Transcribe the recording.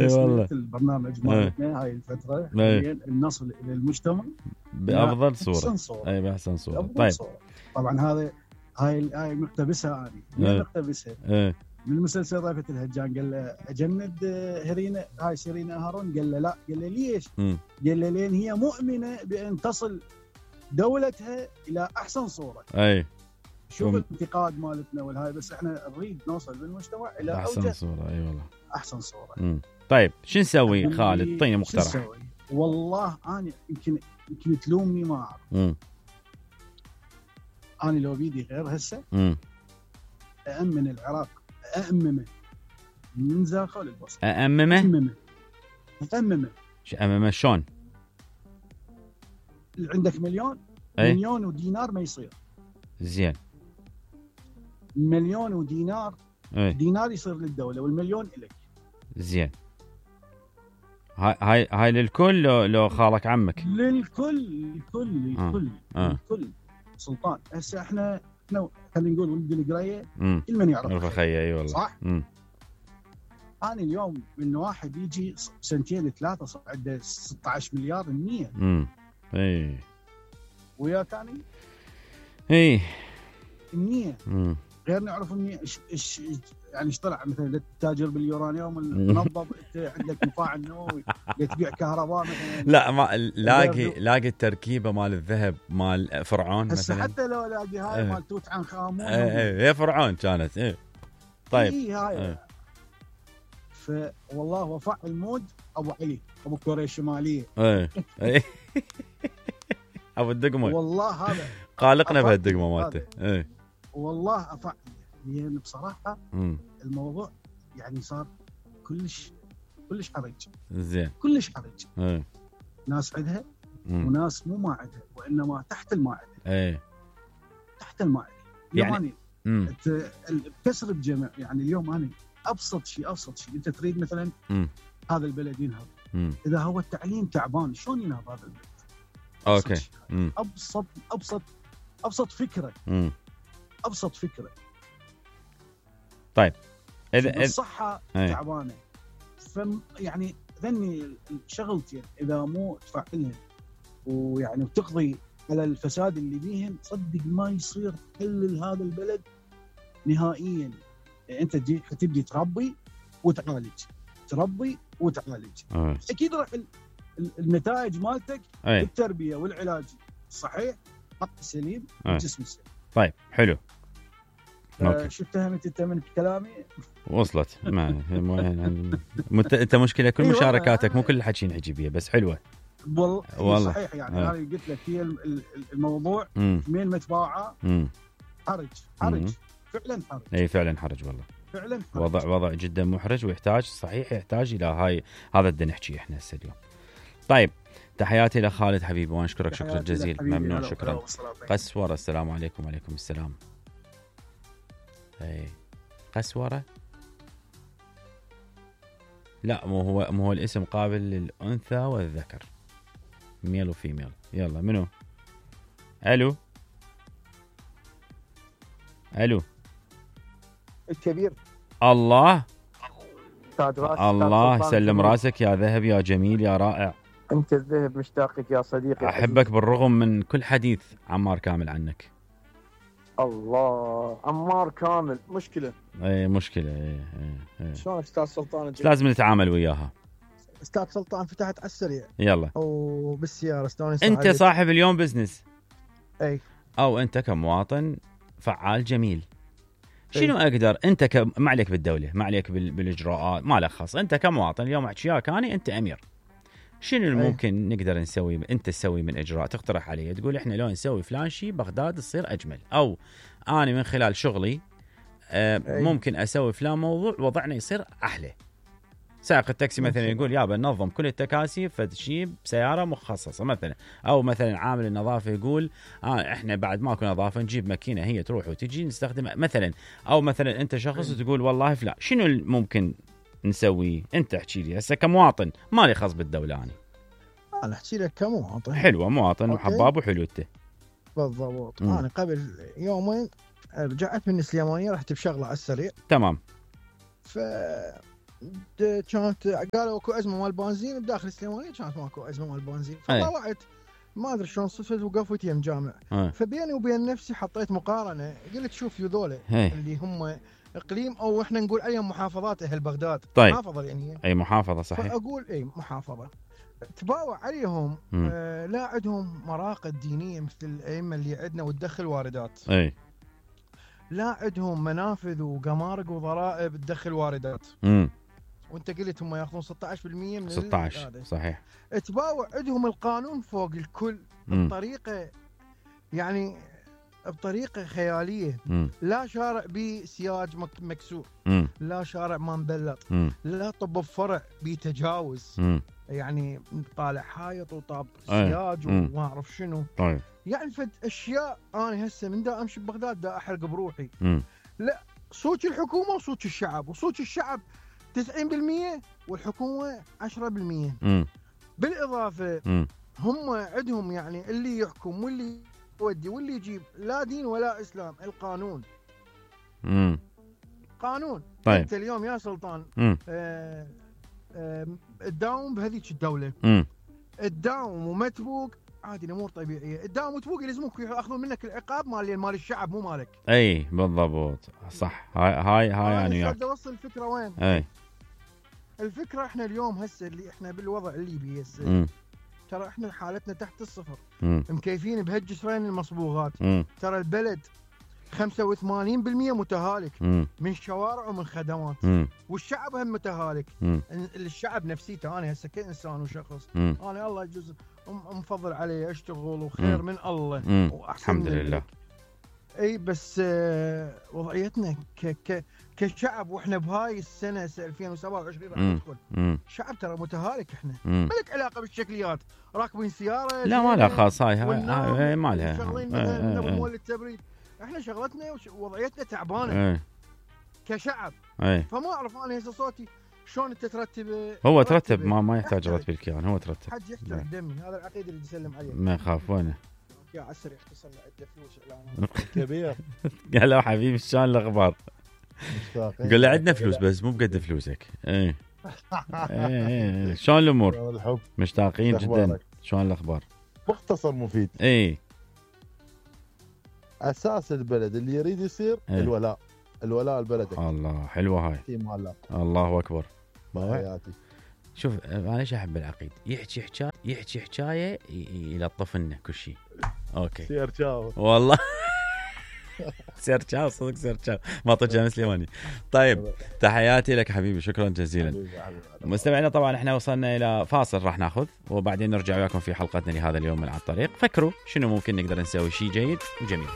تسمية البرنامج مالتنا هاي الفترة النصل إلى المجتمع بأفضل صورة. بأحسن صورة. أي بأحسن صورة. طيب صورة. طبعا هذا هاي مقتبسها أنا مقتبسها من المسلسل رأفت الهجان. قال له أجند هرينا هاي سيرينا هارون. قال له لا. قال له ليش؟ قال له لأن هي مؤمنة بأن تصل دولتها إلى أحسن صورة. أي شوف الانتقاد مالتنا والهاي، بس احنا نريد نوصل بالمجتمع الى احسن صوره. اي والله احسن صوره. طيب شو نسوي خالد؟ اعطيني مقترح. والله انا يمكن تلومني ما اعرف. انا لو بيدي غير هسه أأمن العراق، أأممه من زاخه للبصره. أأممه شو أأممه شلون؟ عندك مليون ودينار ما يصير. زين. مليون ودينار. دينار يصير للدولة والمليون إليك. زين. هاي للكل لو خالك عمك؟ للكل سلطان. هسه احنا خلينا نقول ولد القرية كل من يعرف خيي. اي والله صح. أنا اليوم من واحد يجي سنتين ثلاثة صار عنده 16 مليار النية. اي ويا ثاني اي النية غير نعرف النية ايش يعني ايش طلع. مثلا التاجر باليورانيوم المنظم، انت عندك مفاعل نووي تبيع كهرباء مثلا. لا ما لاقي التركيبه مال الذهب مال فرعون مثلا. حتى لو لاقي هاي مال توت عنخ امون. هي فرعون كانت. طيب هاي فوالله وفاء المود ابو علي ابو كوريا الشماليه. ابو الدقمه والله هذا قالقنا بهالدقمه مالته. والله افعل يعني بصراحه الموضوع يعني صار كلش حرج. زين كلش حرج. ناس عندها وناس مو ما عندها، وانما تحت المائده. تحت المائده يعني كسر الجمع. يعني اليوم انا ابسط شيء انت تريد مثلا هذا البلد ينهض. اذا هو التعليم تعبان شلون ينهض هذا البلد؟ اوكي. ابسط فكره. ابسط فكره. طيب اذا الصحه تعبانه يعني ذني شغلتين اذا مو تفعلها ويعني وتقضي على الفساد اللي بيهم، صدق ما يصير حل هذا البلد نهائيا. يعني انت تبدي تربي وتعالج. اكيد راح النتائج مالتك بالتربيه والعلاج الصحيح، حق السليم والجسم السليم. طيب حلو. شو اتهمت انت من كلامي؟ وصلت. ما انت مشكله كل مشاركاتك مو كل الحكي نحكي بيه، بس حلوه والله صحيح. يعني انا قلت لك هي الموضوع مين متباعه حرج فعلا حرج. اي فعلا حرج والله. فعلا حرج. وضع جدا محرج، ويحتاج صحيح يحتاج الى هذا بدنا نحكي احنا هسه اليوم. طيب تحياتي لخالد حبيبي وانا اشكرك شكرا جزيلا. ممنون شكرا. قسوره. السلام عليكم. وعليكم السلام. قسوره لا مو هو الاسم قابل للانثى والذكر، ميل وفيميل. يلا منو؟ الو الكبير. الله سلم راسك يا ذهب يا جميل يا رائع. انت الذهب مشتاقك يا صديقي. احبك بالرغم من كل حديث عمار كامل عنك. الله عمار كامل مشكله. مشكله. شلون استاذ سلطان؟ لازم نتعامل وياها. استاذ سلطان فتحت على السريع. يلا. وبالسياره استانس. انت عليك. صاحب اليوم بزنس. او انت كمواطن فعال جميل. شنو اقدر انت ما عليك بالدوله، ما عليك بالاجراءات، ما لك خاص. انت كمواطن اليوم احكيك انت امير. شنو الممكن نقدر نسوي انت تسوي من اجراء تقترح علي تقول احنا لو نسوي فلان شيء بغداد تصير اجمل، او انا من خلال شغلي ممكن اسوي فلان موضوع وضعنا يصير احلى. سائق التاكسي مثلا يقول يابا ننظم كل التكاسي فتشي بسياره مخصصه مثلا، او مثلا عامل النظافه يقول احنا بعد ماكو نظافه نجيب ماكينه هي تروح وتجي نستخدمها مثلا، او مثلا انت شخص تقول والله فلا. شنو ممكن نسوي؟ انت احكي لي هسه كمواطن، مالي خاص بالدوله. انا احكي لك كمواطن. حلوه مواطن وحباب وحلوته بالضبط. انا قبل يومين رجعت من السليمانيه، رحت بشغله على السريع. تمام. كانت قالوا اكو ازمه مال بنزين بداخل السليمانيه، كانت ماكو ازمه مال بنزين، فطلعت ما ادري شلون صدفت وقفت يم جامع. فبيني وبين نفسي حطيت مقارنه، قلت شوف يذوله اللي هم اقليم او احنا نقول عليهم محافظات اهل بغداد. طيب. محافظه يعني اي محافظه صحيح. فاقول اي محافظه تباوع عليهم. لا عندهم مراقد دينيه مثل الائمه اللي عندنا وتدخل واردات. اي لا عندهم منافذ وقمارق وضرائب تدخل واردات. وانت قلت هم ياخذون 16% من 16 صحيح. تباوع عندهم القانون فوق الكل بطريقه يعني بطريقه خياليه. لا شارع بسياج مكسور، لا شارع ما مبلط، لا طب بفرع بتجاوز، يعني طالع حايط وطاب سياج وما اعرف شنو. طيب يعني فد اشياء انا هسه من دا امشي ببغداد دا احرق بروحي. لا صوت الحكومه وصوت الشعب، وصوت الشعب 90% والحكومه 10%. بالاضافه هم عندهم يعني اللي يحكم واللي يودي واللي يجيب لا دين ولا اسلام، القانون. قانون. طيب انت اليوم يا سلطان تداوم بهذيك الدوله، تداوم وما تفوق عادي الامور طبيعيه، تداوم وتفوق يلزموك ياخذون منك العقاب مال الشعب مو مالك. اي بالضبط صح. هاي يعني يعني بدي اوصل الفكره وين؟ اي الفكره احنا اليوم هسه اللي احنا بالوضع الليبي هسه ترى احنا حالتنا تحت الصفر. مكيفين بهالجسرين المصبوغات. ترى البلد 85% متهالك من شوارع ومن خدمات. والشعب هم متهالك. الشعب نفسيته انا هسه كانسان وشخص انا الله يجوز مفضل علي اشتغل وخير من الله الحمد لله. اي بس وضعيتنا كشعب واحنا بهاي السنه 2027 راح ندخل. الشعب ترى متهالك احنا. ما لك علاقه بالشكليات، راكبين سياره لا ما لها خاص. هاي ما لها. شغلين مثلا مول التبريد، احنا شغلتنا ووضعيتنا تعبانه كشعب. فما اعرف انا هسه صوتي شلون انت ترتب. هو ترتب ما يحتاج رتب الكيان، هو ترتب. حد يحترم دمي، هذا العقيد اللي يسلم عليه. ما يخاف وينه يا عسر يختصر له عده فلوس اعلانات كبير. قال له حبيبي شلون الاخبار؟ قال له عندنا فلوس بس مو بقد فلوسك. اي شلون الامور؟ مشتاقين جدا. شلون الاخبار؟ مختصر مفيد. اي اساس البلد اللي يريد يصير الولاء البلد. الله حلوه هاي. الله اكبر. حياتي. شوف انا ايش احب العقيد، يحكي حكايه يلطف لنا كل شيء. اوكي سير تشاو والله. سير تشاو صدق سير تشاو ما طجة سليماني. طيب تحياتي لك حبيبي، شكرا جزيلا. مستمعينا طبعا احنا وصلنا الى فاصل راح ناخذ وبعدين نرجع وياكم في حلقتنا لهذا اليوم من على الطريق. فكروا شنو ممكن نقدر نسوي شيء جيد وجميل.